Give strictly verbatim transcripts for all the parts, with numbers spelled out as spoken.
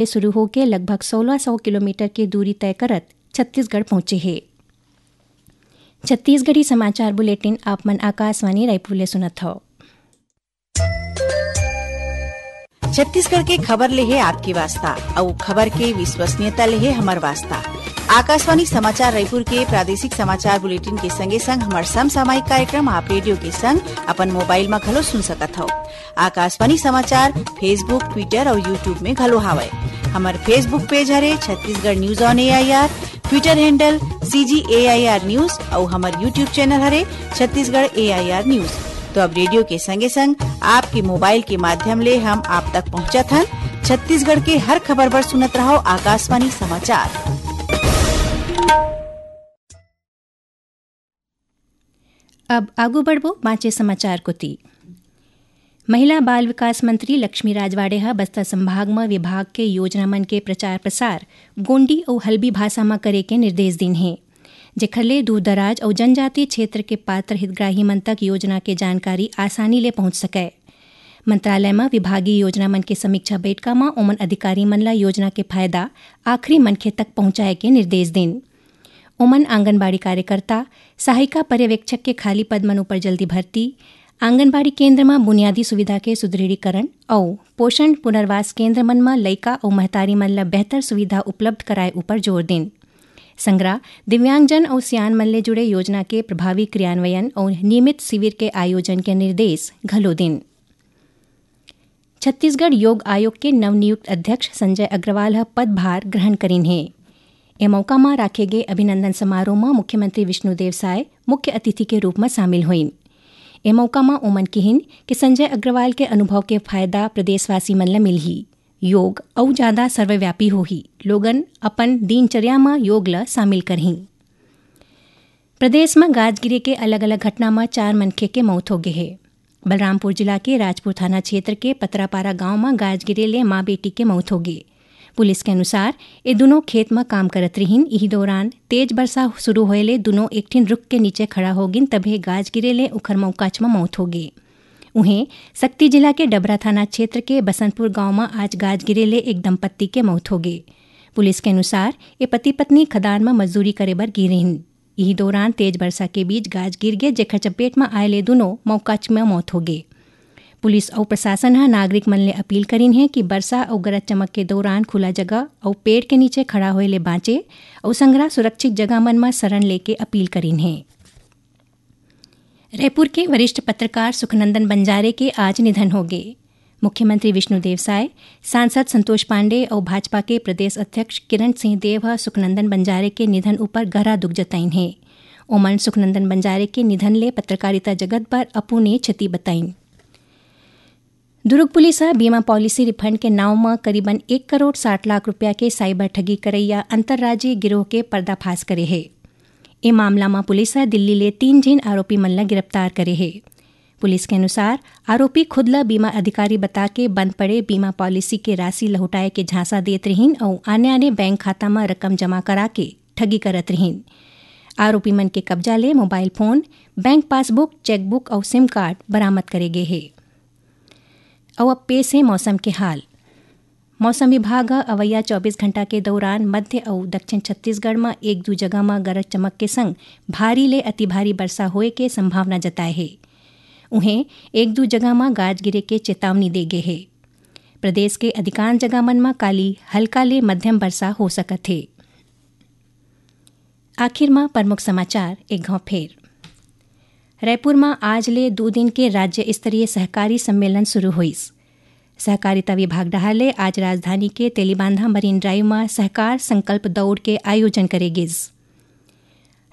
ले शुरू होके लगभग सोलह सौ किलोमीटर के दूरी तय करत छत्तीसगढ़ पहुंचे हे। छत्तीसगढ़ी समाचार बुलेटिन आप मन आकाशवाणी रायपुर ले सुनत हव। छत्तीसगढ़ के खबर ले हे आपके वास्ता, अउ खबर के विश्वसनीयता ले हे हमर वास्ता। आकाशवाणी समाचार रायपुर के प्रादेशिक समाचार बुलेटिन के संगे संग हमर समसामयिक कार्यक्रम आप रेडियो के संग अपन मोबाइल म घलो सुन सकत हव। आकाशवाणी समाचार Facebook, Twitter अउ YouTube में घलो हावय। हमर Facebook पेज हरे Chhattisgarh news on AIR, Twitter handle CG AIR news अउ हमर YouTube चैनल हरे छत्तीसगढ़ एआईआर न्यूज। तो अब रेडियो के संगे संग आपके मोबाइल के माध्यम ले हम आप तक पहुंचत हन। छत्तीसगढ़ के हर खबर बर सुनत रहव आकाशवाणी समाचार। अब आगू बढ़बो बांचे समाचार कोति। महिला बाल विकास मंत्री लक्ष्मी राजवाड़े ह बस्तर संभाग म विभाग के योजना मन के प्रचार प्रसार गोंडी अउ हल्बी भाषा म करे के निर्देश दीन हे, जेखर ले दूर दराज अउ जनजातीय क्षेत्र के पात्र हितग्राही मन तक योजना के जानकारी आसानी ले पहुंच सकय। मंत्रालय म विभागीय योजना मन के समीक्षा बैठका म ओमन अधिकारी मन ल योजना के फायदा आखिरी मनखे तक पहुंचाए के निर्देश दीन। ओमन आंगनबाड़ी कार्यकर्ता, सहायिका पर्यवेक्षक के खाली पद मन उपर जल्दी भर्ती, आंगनबाड़ी केंद्र म बुनियादी सुविधा के सुदृढ़ीकरण अउ पोषण पुनर्वास केंद्र मन म लइका अउ महतारी मन ल बेहतर सुविधा उपलब्ध कराए उपर जोर दीन। संगरा दिव्यांगजन अउ सियान मन ले जुड़े योजना के प्रभावी क्रियान्वयन अउ नियमित शिविर के आयोजन के निर्देश घलो दीन। छत्तीसगढ़ योग आयोग के नवनियुक्त अध्यक्ष संजय अग्रवाल ह पदभार ग्रहण करिन हे। ए मौका म राखे गे अभिनंदन समारोह म मुख्यमंत्री विष्णुदेव साय मुख्य अतिथि के रूप म शामिल होइन। ए मौका म ओमन किहिन कि संजय अग्रवाल के अनुभव के फायदा प्रदेशवासी मन ल मिलही। योग अउ जादा सर्वव्यापी होही। लोगन अपन दिनचर्या म योग ल शामिल करहीं। प्रदेश म गाज गिरे के अलग-अलग घटना म चार मनखे के मौत हो गे हे। बलरामपुर जिला के राजपुर थाना क्षेत्र के पतरापारा गांव म गाज गिरे ले मां बेटी के मौत हो गे। पुलिस के अनुसार, ए दुनों खेत म काम करत रिहिन। इही दौरान तेज बरसा शुरू होए ले दुनों एक ठिन रुख के नीचे खड़ा हो गिन, तभे गाज गिरे ले उखर मौकाच म मौत हो गे। उहें, सक्ती जिला के डबरा थाना क्षेत्र के बसंतपुर गांव म आज गाज गिरे ले एक दंपत्ति के मौत हो गे। पुलिस के अनुसार, ए पति-पत्नी खदान म मजदूरी करे बर गे रिहिन। इही दौरान तेज बरसा के बीच गाज गिर गे, जेखर चपेट म आए ले दुनों मौकाच म मौत हो गे। पुलिस अउ प्रशासन ह नागरिक मन ले अपील करिन हे कि बरसा अउ गरज चमक के दौरान खुला जगह अउ पेड़ के नीचे खड़ा होए ले बांचे अउ संघरा सुरक्षित जगह मन म शरण लेके अपील करिन हे। रायपुर के वरिष्ठ पत्रकार सुखनंदन बंजारे के आज निधन हो गे। मुख्यमंत्री विष्णुदेव साय, सांसद संतोष पांडे अउ भाजपा के प्रदेश अध्यक्ष किरण सिंह देव ह सुखनंदन बंजारे के निधन उपर गहरा दुख जताइन हे। ओमन सुखनंदन बंजारे के निधन ले पत्रकारिता जगत बर अपूर्णीय क्षति बताइन। दुर्ग पुलिस ह बीमा पॉलिसी रिफंड के नांव म करीबन एक करोड़ साठ लाख रुपया के साइबर ठगी करइया अंतर्राज्यीय गिरोह के पर्दाफाश करे हे। ए मामला म पुलिस ह दिल्ली ले तीन झिन आरोपी मन ल गिरफ्तार करे हे। पुलिस के अनुसार, आरोपी खुद ल बीमा अधिकारी बता के बंद पड़े बीमा पॉलिसी के राशि लहुटाए के झांसा देत रिहिन अउ आने-आने बैंक खाता म रकम जमा करा के ठगी करत रिहिन। आरोपी मन के कब्जा ले mobile phone, bank passbook, chequebook अउ सिम कार्ड बरामद करे गे हे। अउ अब पेश हे मौसम के हाल। मौसम विभाग ह अवइया चौबीस घंटा के दौरान मध्य अउ दक्षिण छत्तीसगढ़ म एक दू जगह म गरज चमक के संग भारी ले अति भारी बरसा होए के संभावना जताए हे। उहें, एक दू जगह म गाज गिरे के चेतावनी दे गे हे। प्रदेश के अधिकांश जगह मन म काली हल्का ले मध्यम बरसा हो सकत हे। आखिर म प्रमुख समाचार एक घांव फेर। रायपुर म आज ले दू दिन के राज्य स्तरीय सहकारी सम्मेलन शुरू होइस। सहकारिता विभाग डहार ले आज राजधानी के तेलीबांधा मरीन ड्राइव म सहकार संकल्प दौड़ के आयोजन करे गिस।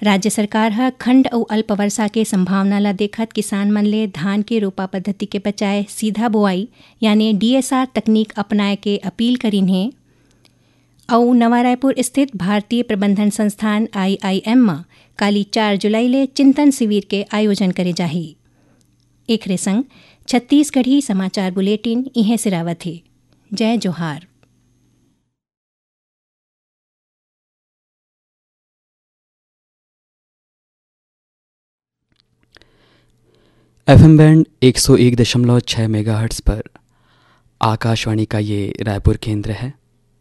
राज्य सरकार ह खंड अउ अल्प वर्षा के संभावना ल देखत किसान मन ले धान के रोपा पद्धति के बजाय सीधा बोआई यानी डीएसआर तकनीक अपनाए के अपील करिन हे। अउ नवा रायपुर स्थित भारतीय प्रबंधन संस्थान, आईआईएम, म काली चार जुलाई ले चिंतन शिविर के आयोजन करे जाही। एखरे संग छत्तीसगढ़ी समाचार बुलेटिन इहें सिरावत हे। जय जोहार। एफएम बैंड एक सौ एक दशमलव छह मेगाहर्ट्ज़ पर आकाशवाणी का ये रायपुर केंद्र है।